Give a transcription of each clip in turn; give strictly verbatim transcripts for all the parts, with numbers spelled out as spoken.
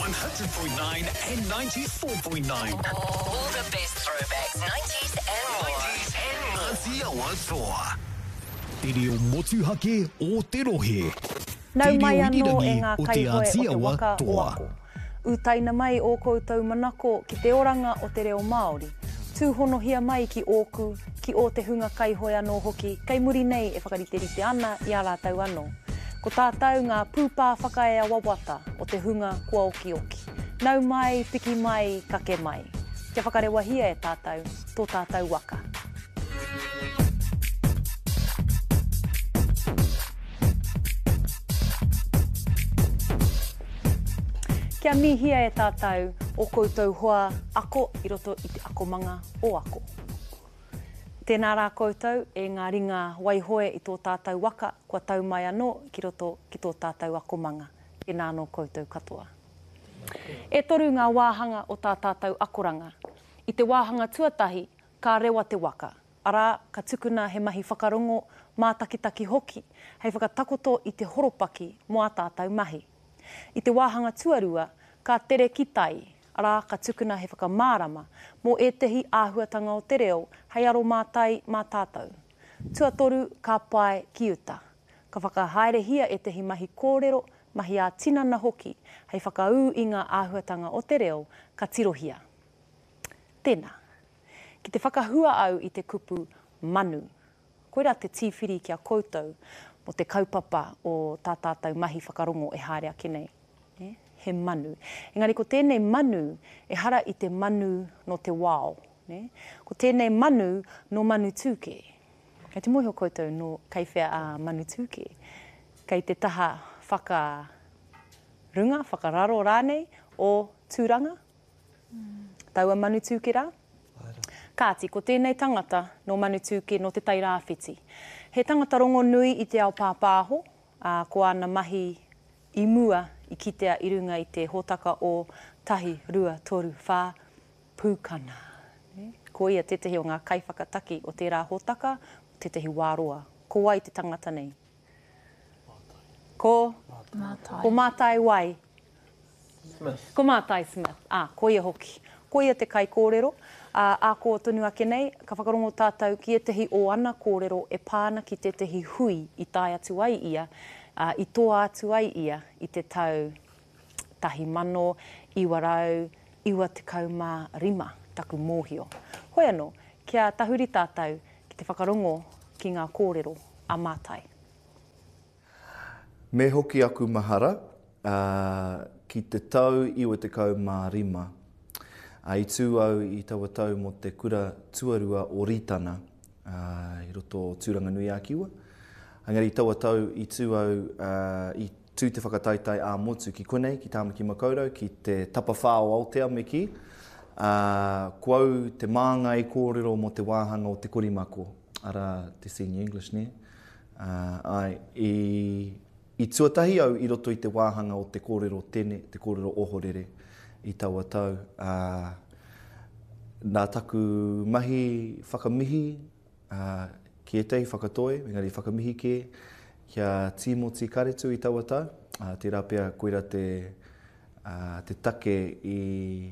one hundred point nine and ninety-four point nine. All the best throwbacks, nineties and more. nineties and more. Āti Awa Toa. Te reo motuhake o te rohe. Nau mai Te reo anō e irirangi ngā o Te kaihoe o Āti te Awa waka o Toa. Ako. Utaina mai ō koutou manako ki te oranga o te reo Māori. Tūhonohia mai ki ōku, ki ō te hunga kaihoe anō hoki, kei muri nei e whakariterite ana i a rātou anō. Ko tātou ngā pūpā whakaea wawata o te hunga kua okioki. Nau mai, piki mai, kake mai. Kia whakarewahia e tātou, tō tātou waka. Kia mihia e tātou o koutou hoa ako i roto i te akomanga o ako. Tēnā rā koutou e ngā ringa waihoe i tō tātou waka kua tau mai anō ki roto ki tō tātou akomanga. Tēnā anō koutou katoa. E toru ngā wāhanga o tā tātou akoranga. I te wāhanga tuatahi, ka rewa te waka. Arā, ka tukuna he mahi whakarongo, mātakitaki hoki, hei whakatakoto i te horopaki mō ā tātou mahi. I te wāhanga tuarua, ka tere ki tai, arā, ka tukuna he whakamārama mō ētehi āhuatanga o te reo hei aro mātai mā tātou. Tuatoru, ka pae ki uta. Ka whakahaerehia ētehi mahi kōrero, mahi ā-tinana hoki, hei whakaū i ngā āhuatanga o te reo ka tirohia. Tēnā, ki te whakahua au i te kupu manu. Koirā te tīwhiri ki a koutou mō te kaupapa o tā tātou mahi whakarongo e haere ake nei. He manu. Engari ko tēnei manu, ehara i te manu nō te wao. Ko tēnei manu nō Manutūkē. Kei te mōhio koutou nō kei whea a Manutūkē. Kei te taha whakarunga, whakararo rānei o Tūranga. Taua Manutūkē rā. Kāti, ko tēnei tangata nō Manutūkē nō Te Tairāwhiti. He tangata rongonui i te ao pāpāho, ā, ko āna mahi i mua i kitea i runga i te hōtaka o tahi, rua, toru, whā, pūkana. Ko ia tētahi o ngā kaiwhakataki o tērā hōtaka, tētahi wā roa. Ko wai te tangata nei? Ko? Mātai. Ko Mātai wai? Smith. Ko Mātai Smith. Ā, ko ia hoki. Ko ia te kaikōrero, ā, ā kō tonu ake nei, ka whakarongo tātou ki ētahi o ana kōrero e pā ana ki tētahi hui i tae atu ai ia, ā, i toa atu ai ia i te tau tahi mano, iwa rau, iwa tekau mā rima, taku mōhio. Hoi anō, kia tahuri tātou ki te whakarongo ki ngā kōrero a Mātai. Me hoki aku mahara, ā, ki te tau iwa tekau mā rima. Ā, i tū au i taua tau mō te kura tuarua o Rītana, ā, i roto o Tūranganui-a-Kiwa. Engari i taua tau i tū au, ā, i tū te whakataetae ā-motu ki konei, ki Tāmaki Makaurau, ki te tapawhā o Aotea me kī. Ā, ko au te māngai kōrero mō te wāhanga o te korimako, arā, te Senior English, nē? Ā, āe, i, i tuatahi au i roto i te wāhanga o te kōrero tene, te kōrero ohorere i taua tau. Ā, nā taku mahi whakamihi, ā, ki ētahi whakatoi, engari whakamihi kē, ki a Tīmoti Karetu i taua tau. Ā, tērā pea koira te, ā, te take i,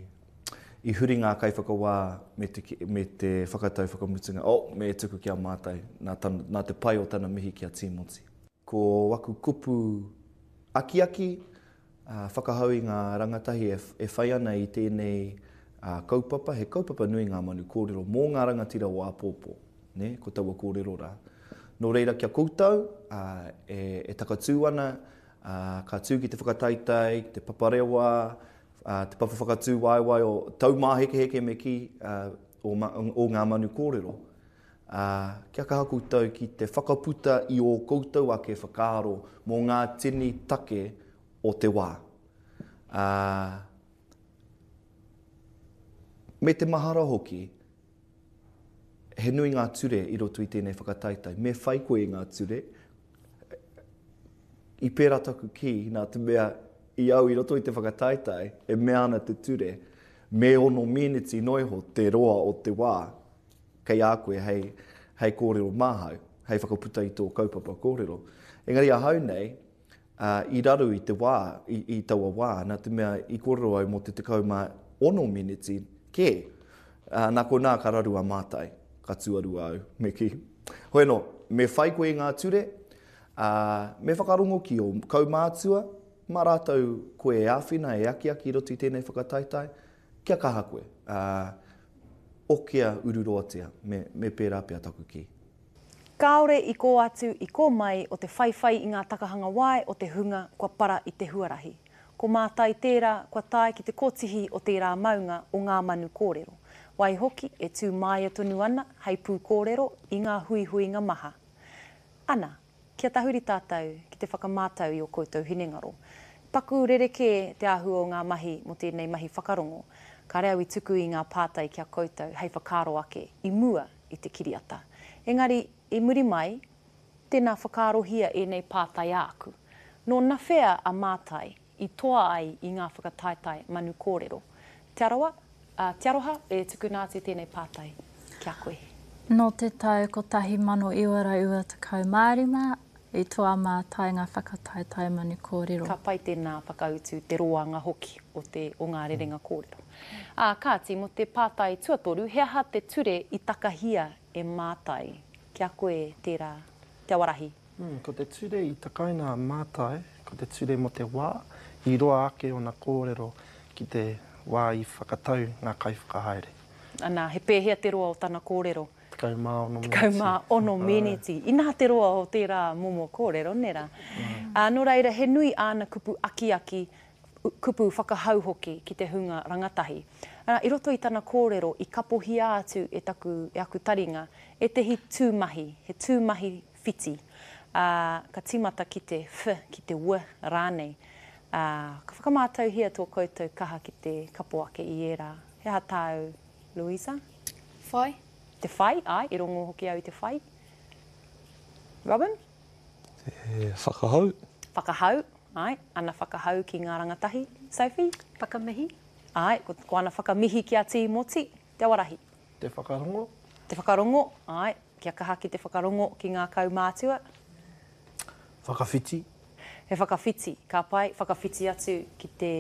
i huri ngā kaiwhakawā me te, me te whakatau whakamutunga. Oh, me tuku ki a Mātai, nā, tana, nā te pai o tana mihi ki a Tīmoti. Ko aku kupu akiaki, ā, whakahau i ngā rangatahi e, e whai ana i tēnei, ā, kaupapa, he kaupapa nui ngā manu kōrero mō ngā rangatira o āpōpō, ne? Ko taua kōrero rā. Nō reira kia koutou, ā, e, e takatū ana, ā, ka tū ki te whakataetae, ki te paparewa, ā, te papa whakatū waewae o taumāhekeheke me kī, ā, o, ma, o ngā manu kōrero. Ā, kia kaha koutou ki te whakaputa i ō koutou ake whakaaro mō ngā tini take o te wā. Ā, me te mahara hoki, he nui ngā ture i roto i tēnei whakataetae. Me whai koe i ngā ture. I pērā taku kī, nā te mea i au i roto i te whakataetae, e mea ana te ture, me ono miniti noiho te roa o te wā kei a koe hei, hei kōrero māhau, hei whakaputa i tō kaupapa kōrero. Engari ahau nei, Uh, i raru i te wā, i, i taua wā, nā te mea i kōrero au mō te tekau mā ono miniti kē. Uh, nā konā ka raru a Mātai, ka tuarua au, me kī. Hoi anō, me whai koe i ngā ture, uh, me whakarongo ki ō kaumātua, mā rātou koe e āwhina, e akiaki i roto i tēnei whakataetae, kia kaha koe. Uh, okea ururoatia, me, me pērā pea taku kī. Kāore i kō atu, i kō mai o te whaiwhai i ngā takahanga wae o te hunga kua para i te huarahi. Ko Mātai tērā kua tae ki te kotihi o tērā maunga o ngā manu kōrero. Waihoki e tū māia tonu ana hei pūkōrero i ngā huihuinga maha. Ana, kia tahuri tātou ki te whakamātau i ō koutou hinengaro. Paku rerekē te āhua o ngā mahi mō tēnei mahi whakarongo. Kāre au i tuku i ngā pātai ki a koutou hei whakaaro ake i mua i te kiriata. Engari, i muri mai, tēnā whakaarohia ēnei pātai āku. Nō nawhea a Mātai i toa ai i ngā whakataetae manu kōrero. Te Arawa, uh, Te Aroha, e tukuna atu tēnei pātai ki a koe. Nō te tau kotahi mano iwa rau iwa tekau mā rima, i toa Mātai ngā whakataetae manu kōrero. Ka pai tēnā whakautu te roanga hoki o, te, o ngā rerenga kōrero. Ā, kāti, mō te pātai tuatoru, he aha te ture i takahia e Mātai? Ki a koe tērā, Te Awarahi. Mm, ko te ture i takaina a Mātai, ko te ture mō te wā, i roa ake ona kōrero ki te wā i whakatau ngā kaiwhakahaere. Ana, he pēhea te roa o tana kōrero? Tekau mā ono miniti. Tekau mā ono miniti. Inā te roa o tērā momo kōrero, nē rā. Mm. Ā, nō reira, he nui āna kupu akiaki, kupu whakahau hoki ki te hunga rangatahi. Ā, i roto i tana kōrero, i kapohia atu e taku, e aku taringa, ētehi tūmahi, he tūmahi whiti. Ā, ka tīmata ki te F, ki te W rānei. Ā, ka whakamātauhia tō koutou kaha ki te kapo ake i ērā. He aha tāu, Louisa? Whai. Te whai, āe, i rongo hoki au i te whai. Robin? Te whakahau. Whakahau, āe, ana whakahau ki ngā rangatahi. Sophie? Whakamihi. Āe, ko, ko ana whakamihi ki a Tīmoti, Te Awarahi. Te whakarongo. Te whakarongo, āe, kia kaha ki te whakarongo ki ngā kaumātua. Whakawhiti. He whakawhiti, ka pai, whakawhiti atu ki te,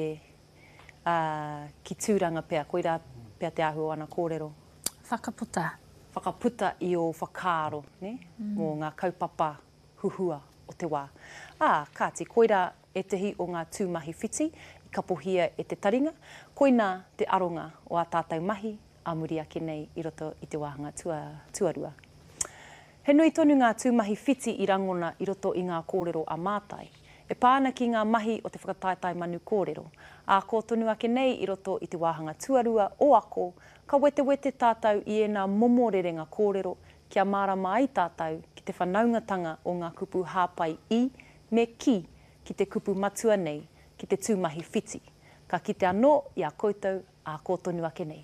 uh, ki Tūranga pea, koirā pea te āhua o ana kōrero. Whakaputa. Whakaputa i ō whakaaro, ne? Mm. Mō ngā kaupapa huhua o te wā. Ā, kāti, koirā ētehi o ngā tūmahi whiti i kapohia e te taringa, koinā te aronga o ā tātou mahi ā muri ake nei i roto i te wāhanga tua, tuarua. He nui tonu ngā tūmahi whiti i rangona i roto i ngā kōrero a Mātai. E pā ana ki ngā mahi o te whakataetae manu kōrero. Ā kō tonu ake nei i roto i te wāhanga tuarua o ako, ka wetewete tātou i ēnā momo rerenga kōrero kia mārama ai tātou ki te whanaungatanga o ngā kupu hāpai i me ki ki te kupu matua nei, ki te tūmahi whiti. Ka kite anō i a koutou ā kō tonu ake nei.